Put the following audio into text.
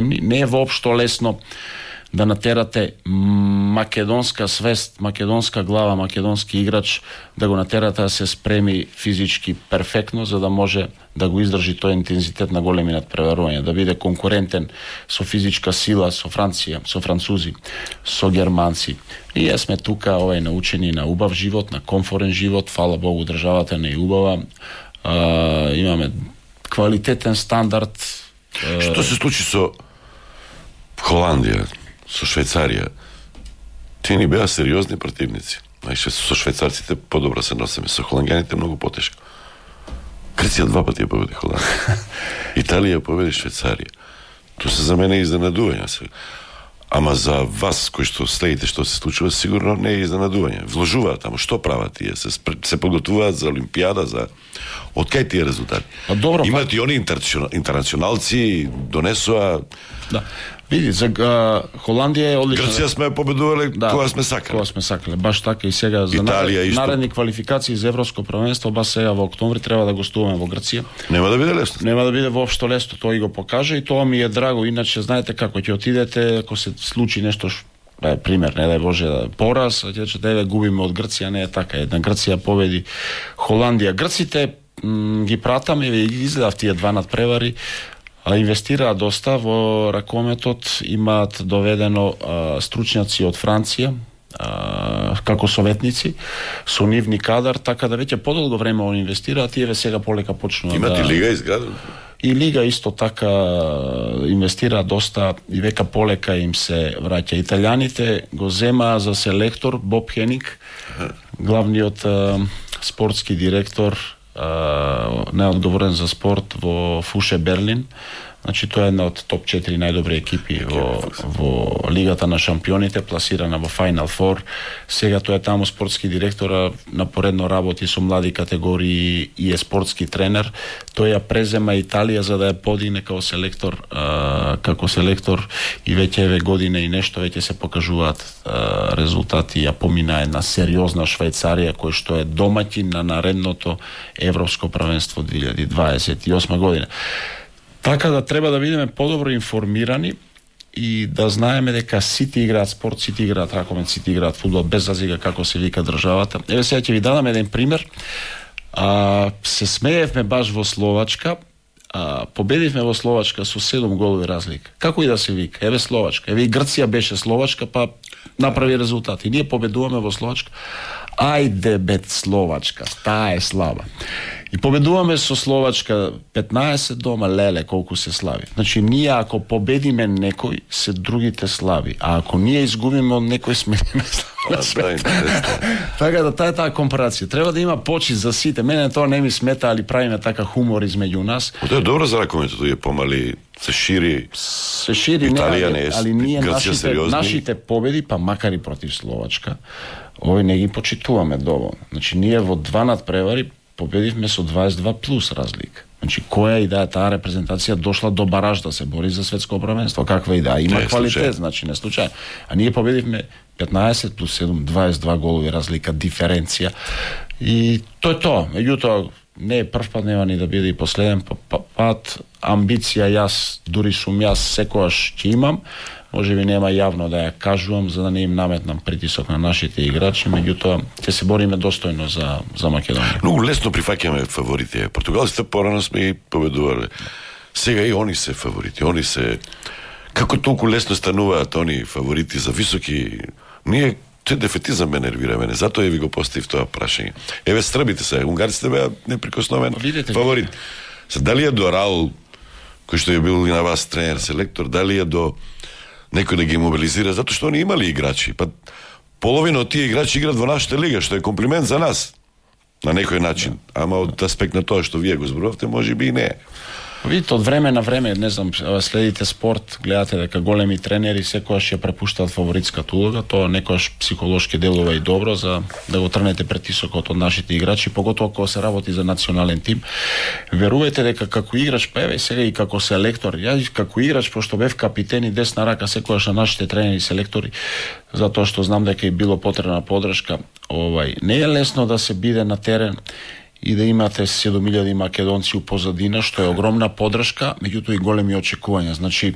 Не е воопшто лесно да натерате македонска свест, македонска глава, македонски играч, да го натерате да се спреми физички перфектно, за да може да го издржи тој интензитет на големи надпреварувања, да биде конкурентен со физичка сила, со Франција, со французи, со германци. И јас сме тука научени на убав живот, на комфорен живот, фала Богу, државата не е убава, имаме квалитетен стандард. Што се случи со Холандија, со Швајцарија? Тие ни беа сериозни противници. Знаеш, со швајцарците подобро се носиме, со холанѓаните многу потешко. Грција 2 пати ја победи Холандија. Италија ја победи Швајцарија. Тоа се за мене изненадување. Ама за вас кои што следите што се случува, сигурно не е изненадување. Вложуваат таму, што прават тие? Се подготвуваат за Олимпијада, за од кај тие резултати? Добро, имат и они интернационалци, донесоа. Да. Види, за Холандија е одлична. Грција сме победувале кога сме сакале. Кога сме сакале. Баш така и сега за наредни квалификации за Европско првенство, баш сега во октомври треба да гостуваме во Грција. Нема да биде лесно. Нема да биде воопшто лесно, тоа и го покаже и тоа ми е драго. Иначе знаете како ќе отидете, ако се случи нешто пример, не дај Боже, пораз, ќе губиме од Грција, не е така. Една Грција победи Холандија. Грците ги пратаме и изгледав тие 2 надпревари. Инвестираат доста во ракометот, имаат доведено стручњаци од Франција како советници со нивни кадар, така да веќе подолго време они инвестираат и сега полека почнува. Имат и лига изградена. И лига исто така инвестира доста и века полека им се враќа. Италијаните го земаа за селектор Боб Хенинг, главниот спортски директор, неодговорен за спорт во Фуше Берлин. Значи тоа е една од топ 4 најдобри екипи во Лигата на шампионите, пласирана во Final Four. Сега тој е таму спортски директор, напоредно работи со млади категории и е спортски тренер. Тој ја презема Италија за да ја подигне како селектор, и веќе година и нешто веќе се покажуваат резултати. Ја помина една сериозна Швајцарија кој што е домаќин на наредното Европско првенство 2028 година. Така да треба да бидеме подобро информирани и да знаеме дека сите играат спорт, сите играат ракомет, сите играат фудбал, без разлика како се вика државата. Еве сега ќе ви дадам еден пример. Се смеевме баш во Словачка, победивме во Словачка со 7 голови разлика. Како и да се вика, еве Словачка, еве и Грција беше Словачка, па направи резултати. Ние победуваме во Словачка. Ајде бет Словачка, таа е слаба. И победуваме со Словачка 15 дома, леле колку се слави. Значи ние ако победиме некој, се другите слави, а ако ние изгубиме од некој, сме слави. Така да таа компарација треба да има почит за сите. Мене тоа не ми смета, али правиме така хумор измеѓу нас. Тоа е добро за ракометот, тој е помали, се шири. Италија не е, али ние Грција нашите победи, па макар и против Словачка, овој не ги почитуваме доволно. Значи ние во 2 надпревари победивме со 22 плюс разлика. Значи која идеја таа репрезентација дошла до бараж да се бори за светско првенство? Каква идеја? Има квалитет, значи не случајно. А ние победивме 15 плюс 7, 22 голови разлика, диференција. И тоа е тоа. Меѓутоа не е прв пат, нема ни да биде и последен пат. Амбиција дури сум јас секогаш ќе имам. Може би нема јавно да ја кажувам за да не им наметнам притисок на нашите играчи, меѓутоа ќе се бориме достојно за Македонија. Многу лесно прифаќаме фаворите. Португалците порано сме и победувале. Сега и они се фаворити. Они се како толку лесно стануваат они фаворити за високи. Ние тој дефетизам ме нервира мене. Затоа ви го поставив тоа прашање. Еве србите се, унгарците беа неприкосновен фаворит. Дали е до Раул, кој што е бил и на вас тренер, селектор, дали е до некој да ги мобилизира, затоа што они имали играчи. Па половина од тие играчи играат во нашата лига, што е комплимент за нас. На некој начин. Ама од аспект на тоа што вие го зборувавте, може би и не. Видите, од време на време, не знам, следите спорт, гледате дека големи тренери секогаш ја препуштаат фаворитската улога, тоа некогаш психолошки делува и добро за да го трнете притисокот од нашите играчи, поготоа кога се работи за национален тим. Верувајте дека како играч, па еве сега и како селектор, јас како играч, пошто бев капитен и десна рака секогаш на нашите тренери и селектори, затоа што знам дека и било потребна подршка, не е лесно да се биде на терен и да имате 7000 македонци у позадина, што е огромна подршка, меѓутоа и големи очекувања. Значи,